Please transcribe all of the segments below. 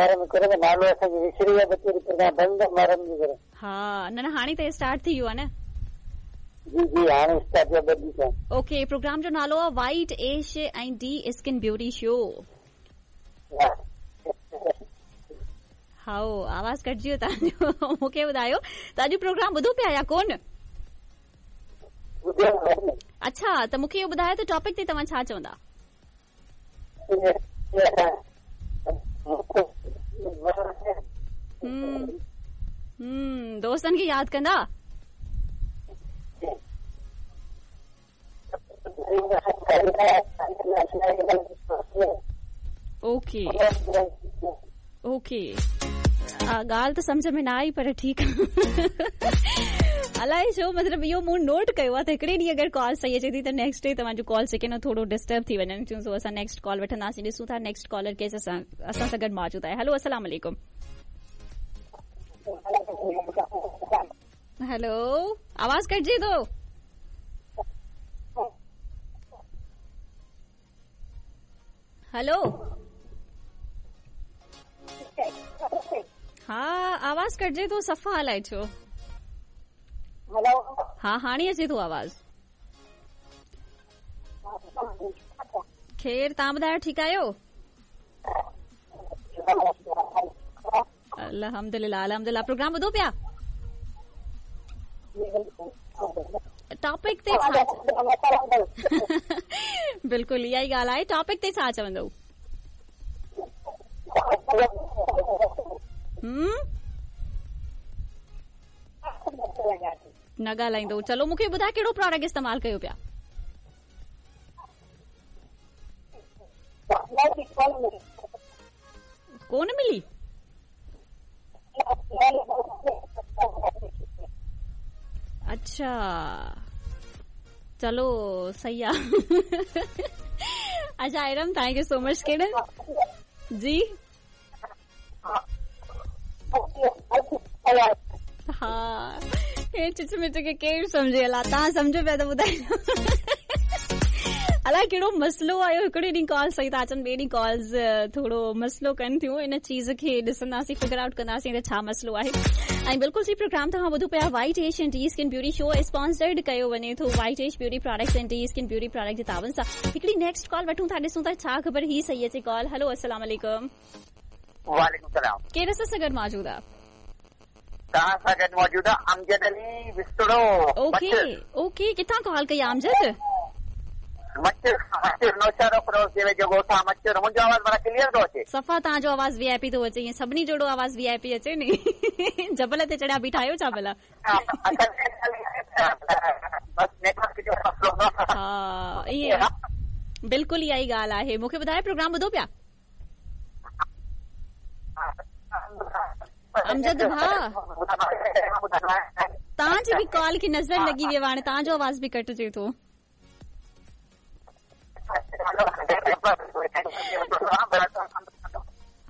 گهر ۾ ڪري نالو اسان جو وسري ويو ٻه ٽي پروگرام بند محرم جي ڪري. ها نه نه هاڻي ته اسٽارٽ ٿي ويو آهي نه. جي جي هاڻي اسٽارٽ ٿيو ٻه ڏينهن ٿيا. اوڪي پروگرام جو نالو آهي white ash ۽ D skin beauty show. هائو آواز ڪٽجي ويو توهان جو مونکي ٻڌايو ته اڄ پروگرام ٻڌو پيا يا ڪون؟ اڇا ته مونکي اهو ٻڌايو ته ٽاپڪ تي توهان ڇا چوندا؟ دوستن کي ياد ڪندا؟ اوڪي اوڪي ڳالهه ته سمجهه ۾ نه آئي پر ٺيڪ الائي ڇو مطلب اهو مون نوٽ ڪيو آهي ته هڪڙي ڏينهن اگر ڪال صحيح اچي ٿي ته نيڪسٽ ڊي توهان جون ڪالز جيڪي آهن ٿورو ڊسٽرب ٿي وڃن ٿيون سو اسان نيڪسٽ ڪال وٺنداسين ڏسون ٿا نيڪسٽ ڪالر ڪير اسان اسان سان گڏ موجود آهي هلو السلام عليڪم هلو آواز ڪٽجي ٿو هلو ها آواز ڪٽجي ٿو صفا الائي ڇو هلو ها هاڻي اچي ٿو آواز خير توهان ٻڌايو ٺيڪ آهيو الحمدلله الحمدلله پروگرام ٻڌو پيا ٽاپڪ تي ڇا بلڪل اها ئي ڳالهه آهي ٽاپڪ تي ڇا چوندو نه ڳالهائيندو چلو مونکي ٻڌاء ڪهڙو پراڊڪٽ استعمال ڪيو پيا ڪون ملي اڇا چلو صحيح آ اڇا Iram thank you so much ڪهڙن جي ها هي چچ مچ کي ڪير سمجهي الا توهان سمجهو پيا ته ٻڌايو الائي ڪهڙو مسئلو آيو هڪڙي ڏينهن ڪال صحيح ٿا اچن ٻئي ڏينهن ڪالز ٿورو مسئلو ڪن ٿيون ان چيز کي ڏسنداسين فگر آئوٽ ڪنداسين ته ڇا مسئلو آهي ۽ بلڪل جي پروگرام توهان ٻڌو پيا white ash and D skin beauty show sponsored ڪيو وڃي ٿو white ash beauty products ۽ D skin beauty product جي تعاون سان هڪڙي نيڪسٽ ڪال وٺون ٿا ڏسون ٿا ڇا خبر هي صحيح اچي ڪال هلو السلام عليڪم وعليڪم السلام. ڪير اسان سان گڏ موجود آ؟ توهان سان گڏ موجود آ امجد علي وسطڙو اوڪي اوڪي ڪٿان ڪال ڪئي آ امجد؟ مچر کان مچر نوشهروفيروز جي ويجهو ڳوٺ آ مچر منهنجو آواز معنيٰ ڪليئر ٿو اچي؟ صفا توهان جو آواز وي آء پي ٿو اچي ائين سڀني جهڙو آواز وي آء پي اچي ني جبل تي چڙهيا بيٺا آهيو ڇا ڀلا؟ بس نيٽورڪ جو مسئلو هوندو ها ائين بلڪل اها ئي ڳالهه آهي مونکي ٻڌايو پروگرام ٻڌو پيا؟ امجد ڀاء توهان جي به ڪال کي نظر لڳي وئي هاڻي توهان جو آواز به ڪٽجي ٿو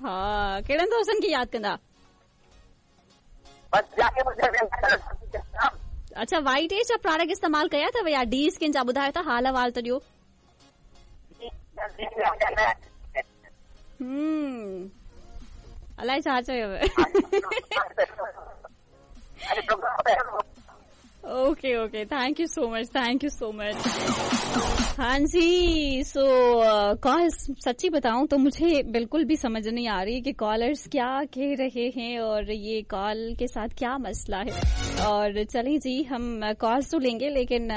ها ڪهڙن دوستن کي ياد ڪندا اڇا وائيٽ ايش جا پراڊڪٽ استعمال ڪيا اٿو يا ڊي اسڪن جا ٻڌايو ته حال احوال ته ڏيو الائي ڇا چيو okay okay thank you so much thank you so much हाँ जी सो कॉल सच्ची बताऊं तो मुझे बिल्कुल भी समझ नहीं आ रही कि कॉलर्स क्या कह रहे हैं और ये कॉल के साथ क्या मसला है और चलें जी हम कॉल्स तो लेंगे लेकिन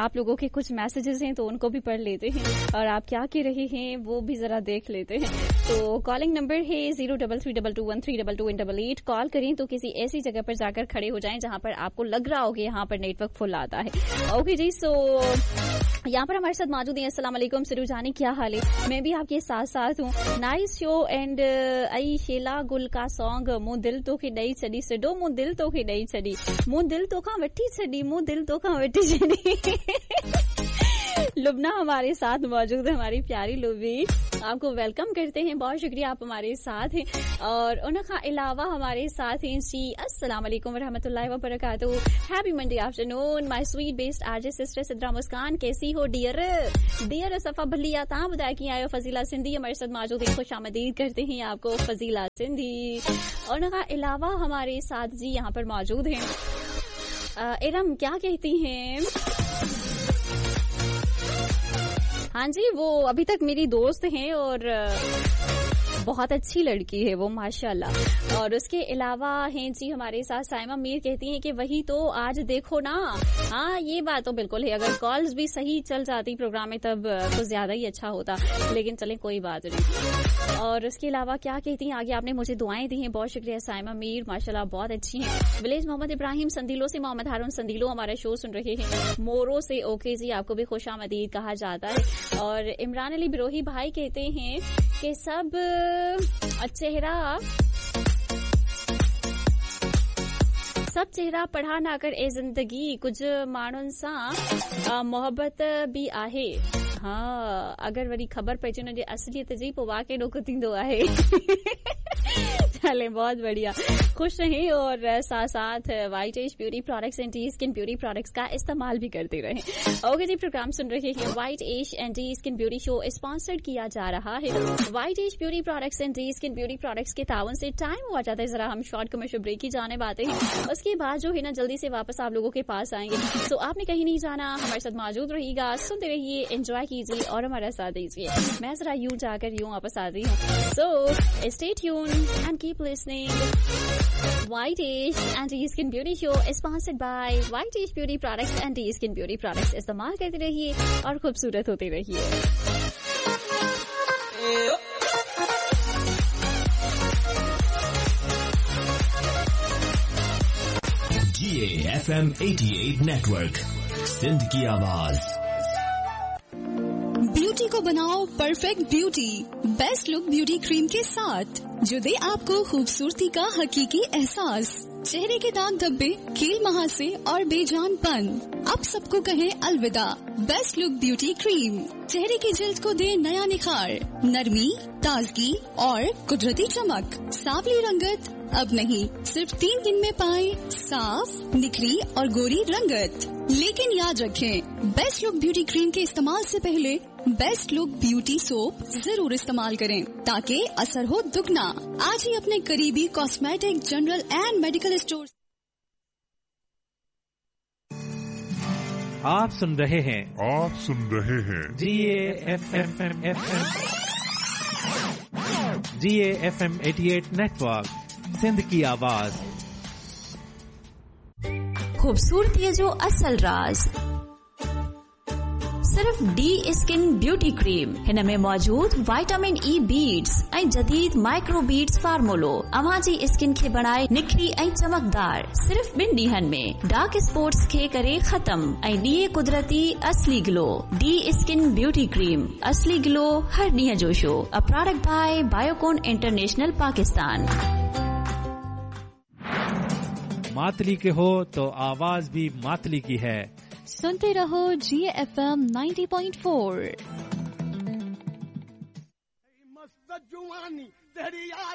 आप लोगों के कुछ मैसेजेस हैं तो उनको भी पढ़ लेते हैं और आप क्या कह रहे हैं वो भी जरा देख लेते हैं तो कॉलिंग नंबर है zero double three double two one three double two double eight call करें तो किसी ऐसी जगह पर जाकर खड़े हो जाएं जहां पर आपको लग रहा हो कि यहाँ पर नेटवर्क फुल आता है ओके जी सो यहाँ पर हमारे साथ मौजूद हैं अस्सलाम वालेकुम सिरू जानी क्या हाल है मैं भी आपके साथ साथ हूँ nice show and I Sheela गुल का सॉन्ग मूं दिल तोखे ॾेई छॾी सिडो मूं दिल तोखे ॾेई छॾी मूं दिल तोखां वठी छॾी मूं दिल तोखां वठी छॾी लुबना हमारे साथ मौजूद है, हमारी प्यारी लुबी, आपको welcome करते हैं, बहुत शुक्रिया आप हमारे साथ हैं। और उन खां अलावा हमारे साथ हैं जी, अस्सलाम वालेकुम रहमतुल्लाहि व बरकातहू, happy Monday afternoon my sweet best RJ sister Sidra Muskan, कैसी हो डियर? डियर सफ़ा भली आ, तव्हां ॿुधायो कीअं आहियो? फज़ीला सिंधी हमारे साथ मौजूद हैं, खुश आमदीद करते हैं आपको फज़ीला सिंधी। और उन खां अलावा हमारे साथ जी यहाँ पर मौजूद हैं इरम, क्या कहती हैं? हाँ जी, वो अभी तक मेरी दोस्त हैं और बहुत अच्छी लड़की है वो माशाल्लाह। और उसके अलावा हैं जी हमारे साथ साइमा मीर, कहती हैं कि वही तो आज देखो ना। हाँ ये बात तो बिल्कुल है, अगर कॉल्स भी सही चल जाती प्रोग्राम में तब तो ज्यादा ही अच्छा होता, लेकिन चलें कोई बात नहीं। और उसके अलावा क्या कहती हैं आगे, आपने मुझे दुआएं दी हैं, बहुत शुक्रिया साइमा मीर, माशाल्लाह बहुत अच्छी हैं। विलेज मोहम्मद इब्राहिम संदीलो से मोहम्मद हारून संदीलो हमारा शो सुन रहे हैं, मोरो से ओके जी आपको भी खुश आमदीद कहा जाता है। और इमरान अली बिरोही भाई कहते हैं कि सब चेहरा पढ़ा ना कर ए जिंदगी, कुछ माण्हुनि सां मोहबत बि आहे। हाँ, अगर वरी ख़बर पइजी हुनजी असलियत जी, पोइ वाकई ॾुख थींदो आहे। चले बहुत बढ़िया, खुश रहें और साथ साथ white age beauty products and D skin beauty products का इस्तेमाल भी करते रहें। ओके जी, प्रोग्राम सुन रहे हैं white age and D skin beauty show, sponsored किया जा रहा है white age beauty products and D skin beauty products के तावन से। टाइम हुआ जाता है, जरा हम शॉर्ट कमर्शियल ब्रेक की जाने बातें हैं, उसके बाद जो है ना जल्दी से वापस आप लोगों के पास आएंगे। तो आपने कहीं नहीं जाना, हमारे साथ मौजूद रहिएगा, सुनते रहिए, एंजॉय कीजिए और हमारा साथ दीजिए। मैं जरा यूं जाकर यूं वापस आती हूँ। So stay tuned and keep listening. White Age and D Skin Beauty Show is sponsored by White Age Beauty Products and D Skin Beauty Products. इस्तेमाल करते रहिए और खूबसूरत होते रहिए। GAFM 88 Network, Sindh की आवाज। ब्यूटी को बनाओ perfect beauty, best look beauty cream के साथ, जो दे आपको खूबसूरती का हकीकी एहसास। चेहरे के दाग धब्बे, कील महासे और बेजानपन अब सबको कहे अलविदा। बेस्ट लुक ब्यूटी क्रीम चेहरे की जिल्द को दे नया निखार, नरमी, ताजगी और कुदरती चमक। सावली रंगत अब नहीं, सिर्फ 3 दिन में पाए साफ, निखरी और गोरी रंगत। लेकिन याद रखें, बेस्ट लुक ब्यूटी क्रीम के इस्तेमाल से पहले बेस्ट लुक ब्यूटी सोप जरूर इस्तेमाल करें ताकि असर हो दुगना। आज ही अपने करीबी cosmetic, general and medical store. आप सुन रहे हैं GAFM GAFM 88 network, Sindh की आवाज। खूबसूरती जो असल राज सिर्फ डी स्किन ब्यूटी क्रीम। हिन में मौजूद वाइटामिन ई बीड्स ऐं जदीद माइक्रो बीड्स फार्मूलो अव्हां जी स्किन खे बणाए निखरी ऐं चमकदार। सिर्फ 2 ॾींहनि में डार्क स्पॉट्स खे करे ख़त्म ऐं ॾिए कुदरती असली glow. D skin beauty cream, असली ग्लो हर ॾींहं जो show. A product by Biocon international Pakistan. Matali के हो तो आवाज भी मातली की है। सुनते रहो GFM 90.4। मस्त जुआनी तेरी यार